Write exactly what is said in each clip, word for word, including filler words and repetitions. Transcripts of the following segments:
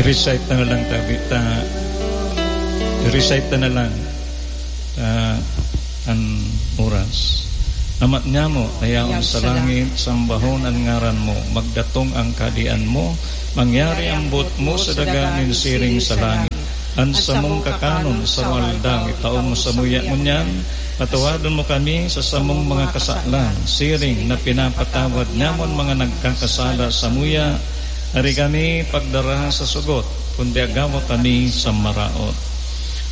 I-recite ta na lang, tabi, ta, i-recite ta na lang, ah, an oras. Ama nyamo na yaon sa langit, sambahon an ngaran mo, magdatong ang kahadean mo, mangyari ang buot mo sa daga nin siring sa langit. An samong kakanon sa mga aldaw, itao mo samuya ngunyan, patawadon mo kami sa samong mga kasalan, siring na pinapatawad nyamon mga nagkakasala samuya, Ari kami pagdara sa sugot, kundi agawa kami sa maraot.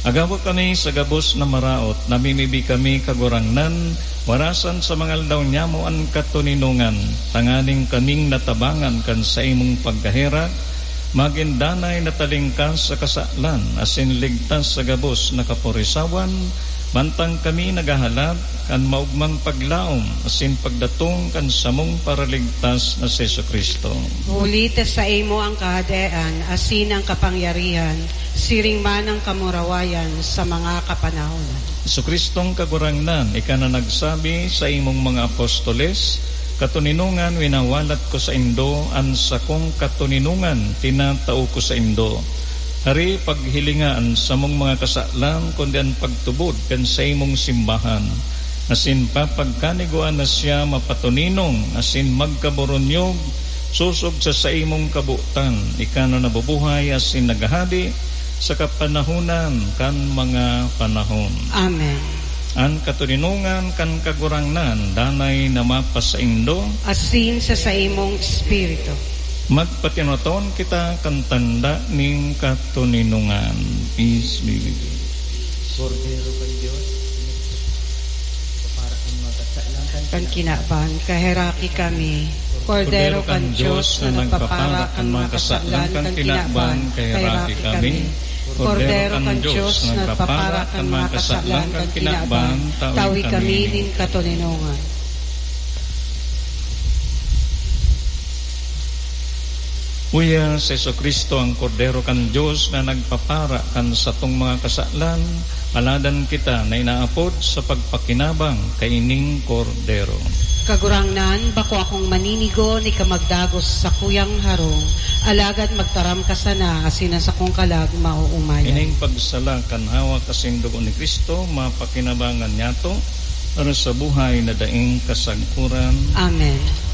Agawa kami sa gabos na maraot, namimibi kami, Kagurangnan, warasan sa mga aldaw nyamo an katoninongan, tanganing kaming natabangan kan saimong pagkaherak, magin danay na talingkas sa kasalan, asin ligtas sa gabos na kaporisawan, mantang kami naghahalat kan maogmang paglaom asin pagdatong kan samong Paraligtas na si Jesu-Cristo. Huli ta saimo an kahadean asin an kapangyarihan, siring man an kamurawayan sa mga kapanahonan. Jesu-Cristong Kagurangnan, ika na nagsabi sa imong mga apostoles, "Katoninongan winawalat ko saindo, an sakong katoninongan tinatao ko saindo." Hari, paghilinga an samong mga kasalan, kundi an pagtubod kan saimong simbahan, asin papagkanigoan na siya mapatoninong asin magkaburunyog sosog sa saimong kabotan, ika na nabubuhay asin naghahade sa kapanahonan kan mga panahon. Amen. An katoninongan kan Kagurangnan danay na mapasaindo. Asin sa saimong espiritu. Magpatinoton kita kan tanda nin katoninongan. Peace be with you. Kordero kan Dios, para kan mga kasalan kan Kan kinaban, kaheraki kami. Kordero kan Dios na nagpapara kan mga kasalan kan kinaban, kaheraki kami. Kordero kan Dios na nagpapara kan mga kasalan kan kinaban, tawi kami nin katoninongan. Uya si Jesu-Cristo, ang Kordero kan Dios na nagpapara kan satong mga kasalan, paladan kita na inaapod sa pagpakinabang kaining Kordero. Kagurangnan, bako akong maninigo ni ka magdagos sa sakuyang harong, alagad magtaram ka sana asin an sakong kalag maoomayan. Ining pagsala kan hawak asin dugo ni Cristo, mapakinabangan niyato para sa buhay na daing kasagkoran. Amen.